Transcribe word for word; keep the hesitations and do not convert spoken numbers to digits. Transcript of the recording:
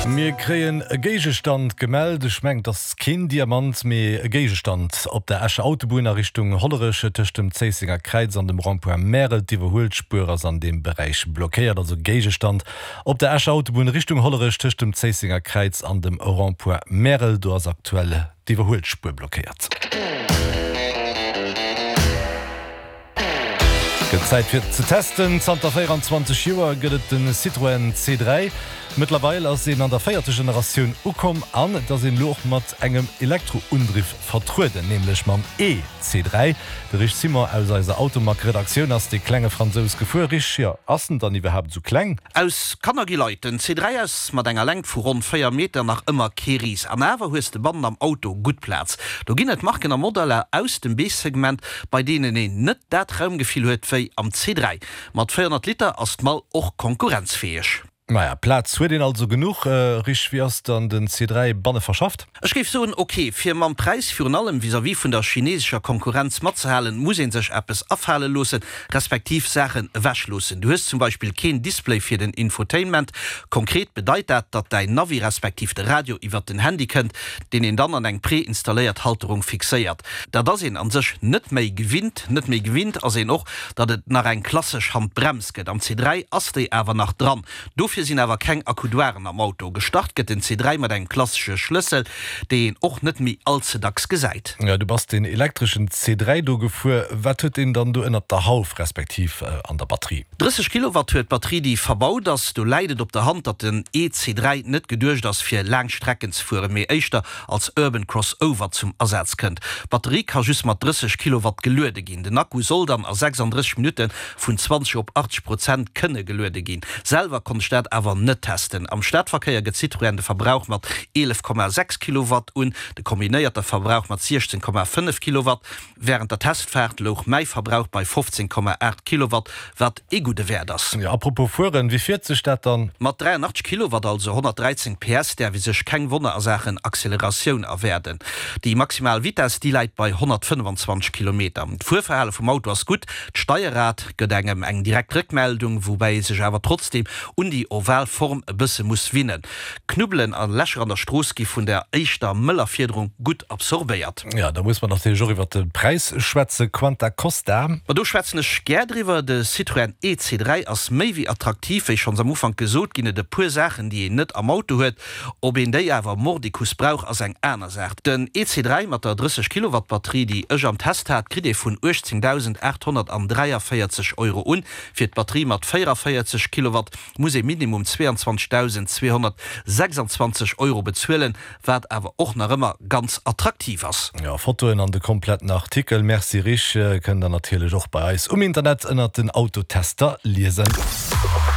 Mir kréien e Géigestand gemellt. Ech mengen, et ass keen Diamant, mee e Géigestand op der Escher Autobunn a Richtung Hollerech tëscht dem Zéissenger Kräiz an dem Rond-point Märel. D'Iwwerhuelspuer ass an deem Beräich blockéiert. Also Géigestand op der Escher Autobunn Richtung Hollerech tëscht dem Zéissenger Kräiz an dem Rond-point Märel. Do ass aktuell d'Iwwerhuelspuer blockéiert. Gëtt Zäit fir ze testen. Zanter véieranzwanzeg Joer gëtt et de Citroën C dräi. Mëttlerweil ass een an der véierter Generatioun ukomm an et ass een elo och mat engem Elektroundriff vertrueden, nämlech mam E C dräi. De Rich Simon aus eiser Automag-Redaktioun ass dee klenge Fransous gefuer. Rich, jo, ass en dann iwwerhaapt esou kleng? Aus Kanner gi Leit. Den C dräi ass mat enger Längt vu ronn véier Meter nach ëmmer kee Ris. An awer hues de bannen am Auto gutt Plaz. Do ginn et Marken a Modeller aus dem B-Segment, bei deenen een net dat Raumgefill huet wéi am C dräi. Mat véierhonnert Liter ass d'Mall och konkurrenzfäeg. Maja, Plaz huet een also genuch. Rich, wéi ass dann den C dräi banne verschafft? Ech géif soen, ok. Fir mam Präis, virun allem vis-à-vis vun der chinesescher Konkurrenz matzehalen, muss ee sech eppes afale loossen, respektiv Saachen ewechloossen. Du hues zum Beispill keen Display fir den Infotainment. Konkret bedeit dat, datt däin Navi respektiv de Radio iwwert den Handy kënnt, deen een dann an eng preinstalléiert Halterung fixéiert. Dat ass een an sech net méi gewinnt. Net méi gewinnt ass een och, datt et nach eng klassesch Handbrems gëtt. Am C dräi ass déi awer nach dran. Dofir sinn awer keng Accoudoiren am Auto. Gestart gëtt den C dräi mat engem klassesche Schlëssel, dee een och net méi all ze dacks gesäit. Jo, du bass deen elektreschen C dräi do gefuer. Wat huet deen dann do ënnert der Hauf, respektiv an der Batterie? Drësseg Kilowatt huet d'Batterie, déi verbaut ass. Do läit et op der Hand, datt den E C dräi net geduecht ass, fir laang Strecken ze fueren, mee éischter als Urban Crossover zum Asaz kënnt. D'Batterie ka just mat drësseg Kilowatt geluede ginn. Den Akku soll dann a sechsanddrësseg Minutte vun zwanzeg op achtzeg Prozent kënne geluede ginn. Selwer konnt ech dat awer net testen. Am Stadverkéier gëtt Citroën de Verbrauch mat eelef Komma sechs Kilowatt un, de kombinéierte Verbrauch mat siechzehn Komma fënnef Kilowatt. Wärend der Testfaart louch mäi Verbrauch bei fofzehn Komma aacht Kilowatt, wat ee gudde Wäert ass. Jo, apropos fueren, wéi fiert sech dat dann? Mat dräianachtzeg Kilowatt, also honnertdräizéng P S, däerf ee sech keng Wonner a Saachen Acceleratioun erwaarden. Déi maximal Vitess, déi läit bei honnertfënnefanzwanzeg Kilometer. D'Fuerverhale vum Auto ass gutt, d'Steierrad gëtt engem eng direkt Réckmeldung, woubäi ee sech awer trotzdeem un déi oval Form e bësse muss winnen. Knubbelen a Lächer an der Strooss gi vun der éischter mëller Fiederung gutt absorbéiert. Jo, da muss mer natierlech och iwwert de Präis schwätzen. Quanta costa? Ma do schwätzen ech gär driwwer. De Citroën E C dräi ass méi wéi attraktiv. Wéi schonns am Ufank gesot, ginn et e puer Saachen, déi een net am Auto huet. Ob een déi awer mordicus brauch, ass eng aner Saach. Den E C dräi mat der drësseg Kilowatt Batterie, déi ech am Test hat, kritt ee vun uechtzéngdausendaathonnertdräiavéierzeg Euro un. Fir d'Batterie mat véieravéierzeg Kilowatt muss ee minimum zwéianzwanzegdausendzweehonnertsechsanzwanzeg Euro bezuelen, wat awer och nach ëmmer ganz attraktiv ass. Jo, Fotoen an de kompletten Artikel, merci Rich, kënnt der natierlech och bei eis um Internet ënnert den Autotester liesen.